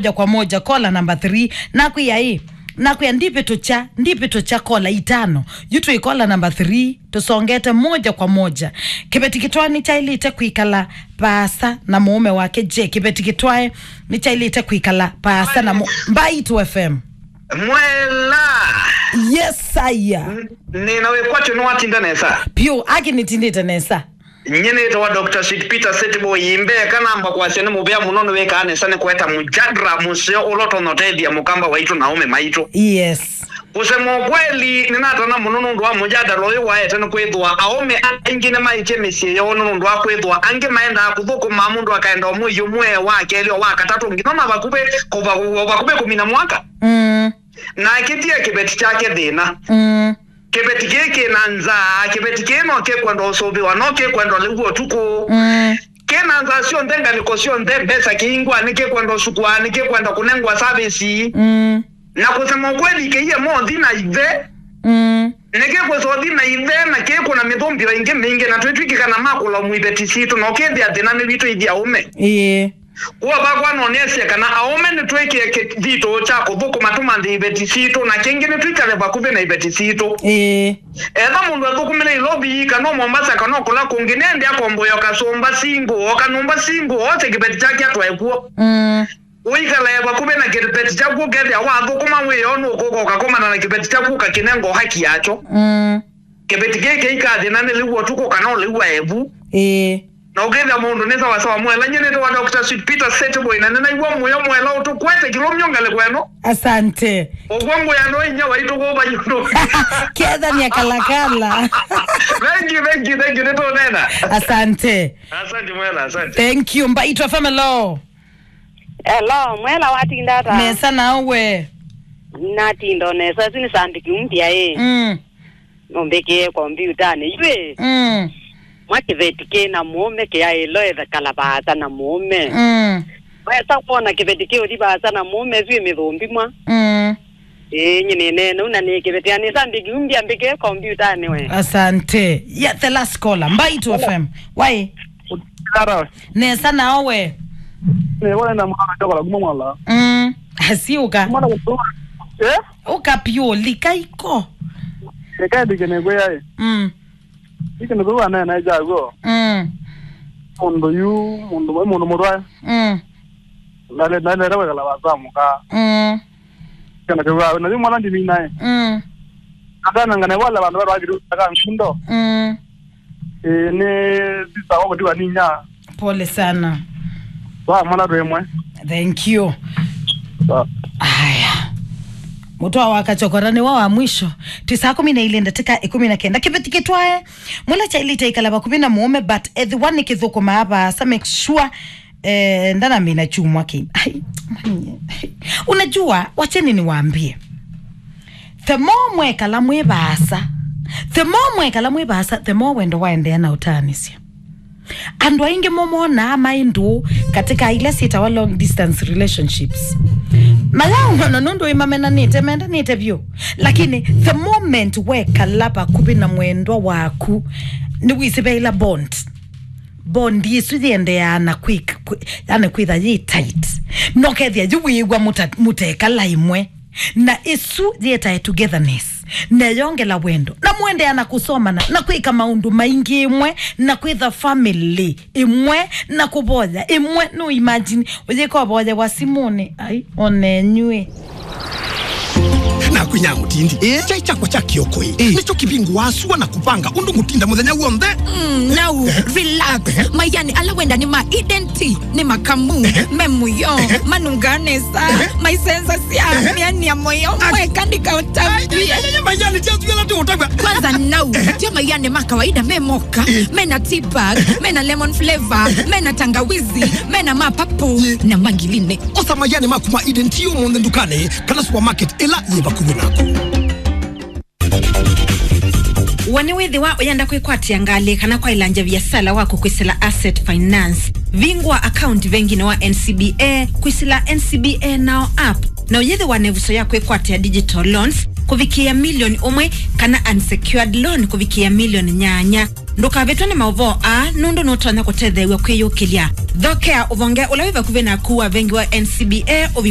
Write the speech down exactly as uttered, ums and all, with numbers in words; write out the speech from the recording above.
moja kwa moja, kola namba three. Nakwĩa ĩ, nakwĩa ndivĩtũkya, ndivĩtũkya kola itano. Yu twĩ kola namba three, tũsongete moja kwa moja. Kĩveti kĩtwae nĩkyaĩlĩte kwĩkala vaasa na mũũme wake. Je, kĩveti kĩtwae nĩkyaĩlĩte kwĩkala vaasa na mũ-, Mbaitu F M? Mwela. Yes, sir. N-, nĩna wĩkwatyo nĩwatinda nesa. Piũ, aki nĩtindĩte nesa. Nyie nĩtawa Doctor Sweet Peter Setboy, mbee kanamba kwasya nĩ mũvea mũno nĩwĩkaa nesa nĩ kũeta mũjadra mũseo ũla ũtonya ũtethya mũkamba waitũ na aũme maitũ. Yes. Kusema ukweli, nĩnatana mũno nũndũ wa mũjadala ũyũ waete nĩ kwĩthĩwa aũme aingĩ nĩmaĩtye mĩsyĩ yoo nũndũ wa kwĩthĩwa angĩ maendaa kũthũkũma mũndũ akaenda ũmwĩi ũmwe wa kelĩ o wa katatũ nginya ona vakuvĩ kũva-, vakuvĩ kũmina mwaka. Mm. Na akĩtia kĩveti kyake thĩna. Mm. Kĩveti kĩĩ kĩ na nzaa, kĩveti kĩĩ no kĩkwenda ũsũvĩwa, no kĩkwenda ũlĩw'a ũtukũ. Mm. Kĩ na nzaa syonthe, ngalĩko syonthe, mbesa kĩingwa, nĩ kĩkwenda ũsukwa, nĩ kĩkwenda kũnengwa savĩsi. Mm. Na kusema ukweli, kĩie mothi na ithe. Mm. Nĩ kĩkwĩsa ũthi na ithe, na kĩkũna mĩthũmbĩo ĩngĩ mĩingĩ, na twĩtw'ĩkĩka na makũla mu iveti sitũ, na ũkĩthĩa thĩna nĩ witũ ithyĩ aũme. Ĩĩ. Kwoou vakwa no nĩasye kana aũme nĩtwĩkĩe kĩthito kya kũthũkũma tũmanthe iveti sitũ, na kĩngĩ nĩtwĩkale vakuvĩ na iveti sitũ. Ĩĩ. Etha mũndũ athũkũmĩle Nairobi, kana o Mombasa, kana o kũla kũngĩ, nĩende akomboe o kasũmba single, o kanyũmba single, ose kĩveti kyake atwae kw'o. Mm. Ũikalae vakuvĩ na kĩveti kyaku, ũkethĩa wathũkũma wĩoo nũkũka ũkakomana na kĩveti kyaku ũkakĩnenga o haki yakyo. Mm. Kĩveti kĩĩ kĩikathĩna nĩlĩw'a ũtukũ kana ũlĩw'a evu. Ĩĩ. Na ũkethĩa mũndũ nĩ sawasawa. Mwela, nyie nĩtawa Doctor Sweet Peter Setboy, na nĩnaĩw'a mũyo Mwela ũtũkwete kĩlũmyo ngalĩko ĩno. Asante. Ũkw'a ngũya no inya waitũ kũva yũndũ. Kethania kalakala. Thank you, thank you, thank you, nĩtũneena. Asante. Asante Mwela, asante. Thank you. Mbaitu F M, hello. Hello, Mwela, watinda ata? Nesa, nawe? Natinda o nesa, ĩsu nĩ Sandiki Umbia ĩ. Mm. Nũmbĩkĩe kombiutanĩ yu ĩ. Mm. Mwa kĩveti kĩ na mũũme kĩaĩlo ĩkala vaasa na mũũme. Mm. Wesa kwona kĩveti kĩũthi vaasa na mũũme, ĩsu ĩ mĩthũmbĩ mwa. Mm. Ĩĩ, nyie nĩneena ũu na nĩkĩvetea nĩ Sandiki Umbia, mbĩkĩe kombiutanĩ we. Asante. Yeah, the last caller. Mbaitu F M. Wai? Hello. Nesa, nawe? Nĩ wale na mwana chokola kuma Mwela. Mm. Asiuka. Mwana kutu. Eh? Uka pio lika iko. Eka ndike ne gwe yae. Mm. Ike ne gwe na na jago. Mm. Mũndũ yu, mũndũ, mũndũ mũrwae. Mm. Nale, nale, nale, wekala wasamuka. Mm. Kana kĩw'a, na yu mwana ndimi nae. Mm. Akanangane wala vandu varwagĩrĩu aka nkundo. Mm. Ĩĩ, nĩ sisa wa kũtiwa ninya. Pole sana. Wa mwana twĩ mwe. Thank you. Sawa. Aya. Mũtwa wa kachokora nĩ wa wa mwisho. Ti saa kũmi na ilĩ ndatĩka ĩkũmi na kenda. Kĩveti kĩtwae. Mũla kyaĩlĩte ĩkala vakuvĩ na mũũme, but ethĩwa nĩ kĩthũkũmaa vaasa, make sure, eh, ndanamina chumwa kĩ. Ai, manye. Unajua, wacheni niwaambie. The more mwekala mwĩ vaasa, the more mwekala mwĩ vaasa, the more wendo waendeea na ũtaanĩsya. Andũ aingĩ mo monaa maĩ ndũũ katika ila syĩtawa long distance relationships. Mayaũmana nũndũ ĩmamenanĩte, mendanĩte vyũ. Lakini the moment wekala vakuvĩ na mwendwa waku, nĩwĩsĩ ve ila bond. Bond ĩsu yĩendeaa na kwĩ-, kwĩ-, yani kwĩtha yĩ tight. Nokethĩa yu wĩĩw'a mũta-, mũtekala ĩmwe. Na ĩsu yĩtae togetherness, neyongela wendo, na mũendeea na kũsomana, na kwĩka maũndũ maingĩ ĩmwe, na kwĩtha family ĩmwe, na kũvoya ĩmwe. No imagine, ũyĩka ũvoyewa simũnĩ, ai, onenyuĩ. Nakwĩnya mũtindi. Eh? Chai chakwa cha kĩoko ĩ. Eh. Nĩcho kĩvingũaa sua na kũvanga ũndũ ngũtinda mũthenya w'onthe. Mm, now, eh, relax. Eh? Mayani ala wenda nĩ ma Eden Tea. Nĩ makamu, me mũyo, manungaa nesa, maisenzasya, mĩani ya mũyo, mweka ndikaũtambie. Mayani ti asu ala tũũtavya. Kwanza nau, tio mayani ma kawaida me moka, mena tea bag, mena lemon flavor, mena tangawizi, mena ma purple, na mangiline. Osa mayani maku ma Eden Tea ũmũnthĩ ndukanĩ kana supermarket ĩla yĩ vakuvĩ naku. We nĩwĩthĩwa ũyenda kwĩkwatĩa ngalĩ kana kwaĩlangya viasala waku kwĩsĩla Asset Finance? Vingũa account venginĩ wa N C B A, kwĩsĩla N C B A Now app, na ũyĩthĩwa na ĩvuso ya kwĩkwatĩa digital loans kũvikĩĩa milioni ũmwe kana unsecured loan kũvikĩĩa milioni nyanya. Ndũkavĩtwe nĩ maũvoo aa, nũndũ nũtonya kũtetheew'a kwĩyũkĩlya. Thokea ũvonge ũla wĩ vakuvĩ naku wa vengi wa N C B A ũvingũe.